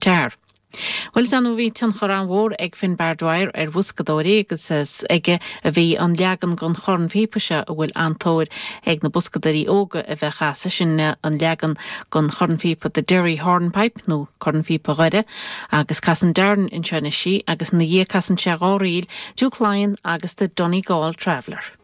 Guitar. Bhuel, is annamh a bhí tionchar an-mhór ag Finbar Dwyer ar bhoscadóirí agus is aige a bhí an leagan den chornphíopa seo a bhfuil an-tóir ag na boscadóirí óga a bheith á chasadh, sin an leagan den chornphíopa The Derry Hornpipe nó Cornphíopa Dhoire agus casann Darren anseo anois í agus ina dhiaidh casann sé dá ríl, Duke Laighean agus The Donegal Traveller.